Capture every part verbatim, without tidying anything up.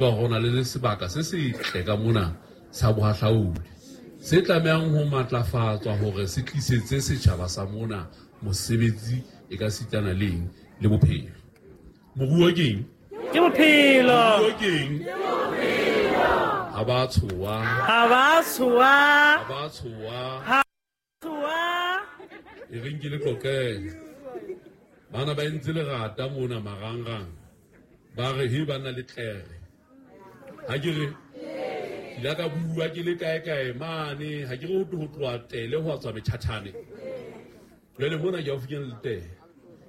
Hore ho na le sebaka se setle ka mona sa bohahlaudi se tlamehang ho matlafatswa hore se tlisetse setjhaba sa mona mosebetsi e ka sitana le eng le bophelo. Moruo ke eng? Ke bophelo. Moruo ke eng? Ha ba tshoha. Ha ba tshoha. Ha ba tshoha. Ha tshoha. E reng ke le qoqele. Bana ba entse lerata mona marangrang. Ba re he ba na le tlere. Ha ke re ke ile ka bua ke le kae kae mane, ha ke re ho ho tloha tele ho tswa metjhatjhane. Jwale mona ke haufinyana le tele.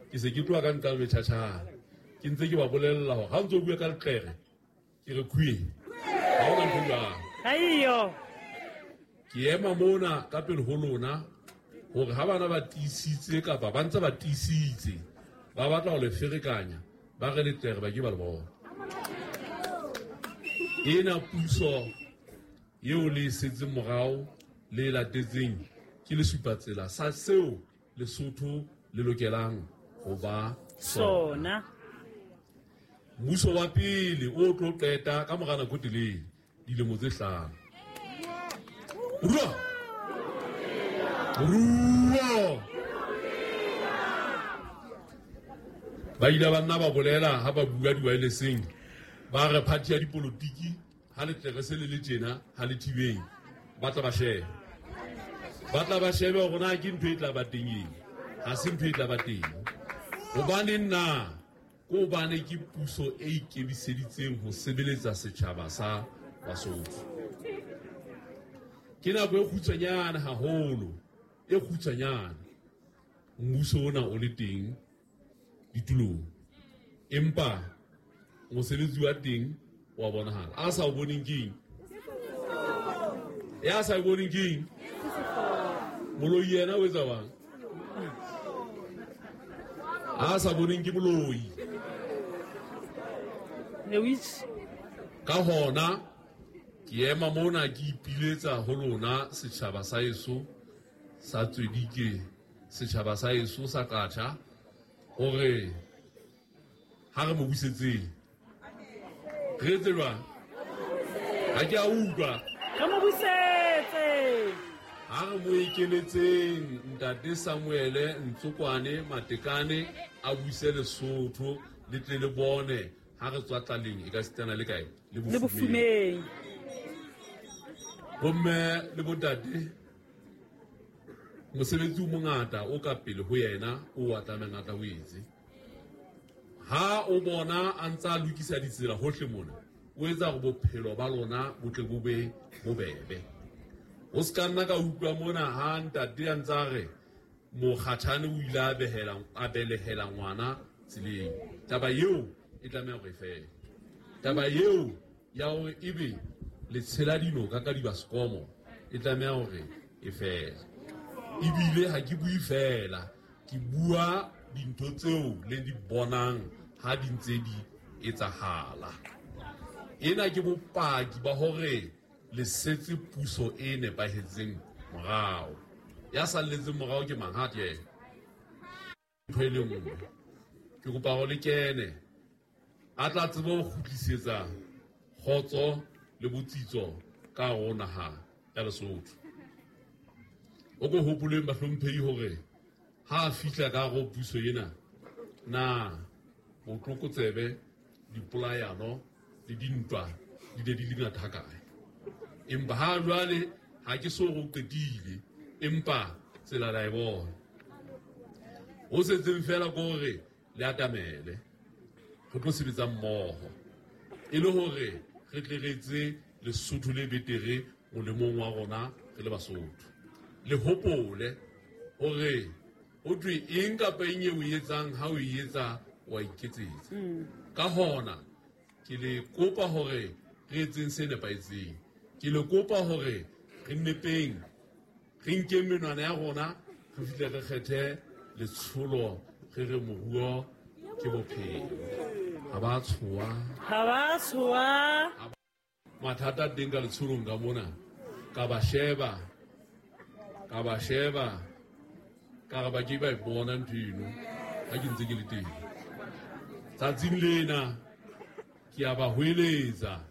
Ke se ke tloha ka nqa metjhatjhane. Ke ntse ke ba bolella hore ha o ntso bua ka letlere, ke re khuye. Ha hona ntho e jwalo. Aiyo. Ke ema mona ka pele ho lona hore ha bana ba tiisitse kapa ba ntse ba tiisitse, ba batla ho le ferekanya, ba re letlere ba ke ba le bona. Ena puso eo le e setseng morao le e latetseng ke lesupatsela sa seo Lesotho le lokelang ho ba sona. Mmuso wa pele o tlo qeta ka mora nako e telele, dilemo tse hlano. Moruo! Moruo! Ba ile ba nna ba bolela ha ba bua di-wirelesseng, ba re party ya dipolotiki ha letlere se le le tjena, ha le thibeng, ba tla ba shebe. Ba tla ba shebe hore na ke ntho e tla ba teng eng, ha se ntho e tla ba teng. Hobaneng na? Ke hobane ke puso e ikemiseditseng ho sebeletsa setjhaba sa Basotho. Ke nako e kgutshwanyane haholo, e kgutshwanyane mmuso ona o le teng ditulong, empa mosebetsi wa teng wa bonahala. A sa o boneng ke eng? Ya sa o boneng ke eng? Moloi yena o etsa jwang? A sa boneng ke moloi. The witch. Ka hona ke ema mona ke ipiletsa ho lona setjhaba sa heso sa Tswedike, setjhaba sa heso sa Qacha, hore ha re mo busetseng. Re etse jwang? Ha ke a utlwa. Re mo busetse. Ha re mo ekeletseng Ntate Samuele Ntsokwane Matekane a buse Lesotho le tle le bone ha re tswa tlaleng e ka sitana le kae? Le bofumeng. Bomme le bontate, mosebetsi o mongata o ka pele ho yena o a tlamehang a tla o etse. Ha o bona a ntsa lokisa ditsela hohle mona, o etsa hore bophelo ba lona bo tle bo be bobebe. O se ka nna ka utlwa mona ha ntate a ntsa re mokgatjhane o ile a behela, a belehela ngwana tseleng. Taba eo e tlameha hore e fele. Taba eo ya hore ebe le tshela dinoka ka dibasekomo e tlameha hore e fele. Ebile ha ke bue fela, ke bua dintho tseo le di bonang ha di ntse di etsahala. Ena ke bopaki ba hore le setse puso e nepahetseng morao. Ya salletseng morao ke mang? Ha ke yena. Ntho e le nngwe. Ke kopa hore le kene. A tla tsebe ho kgutlisetsa kgotso le botsitso ka hare ho naha ya Lesotho. O ko hopoleng bahlomphehi hore ha a fihla ka hare ho puso ena, na botlokotsebe, dipolayano le dintwa di ne di le ngata hakae? Empa ha jwale ha ke so re o qetile, empa tsela la e bona. Ho setseng fela ke hore le atamele, re tlo sebetsa mmoho e le hore re tle re etse Lesotho le betere molemong wa rona re le Basotho. Le hopole hore ho thwe eng kapa eng eo o e etsang, ha o e etsa wa iketsetsa. Ka hona ke le kopa hore re etseng se nepahetseng. Ke le kopa hore re nnepeng, re nkeng menwana ya rona, re fihle re kgethe letsholo, re re moruo ke bophelo. Ha ba tshoha. Ha ba tshoha. Mathata a teng ka letsholong ka mona, ka ba sheba, ka ba sheba, ka re ba ke ba e bona ntho eno ha ke ntse ke le teng. Tsatsing lena ke Ke a ba hweletsa.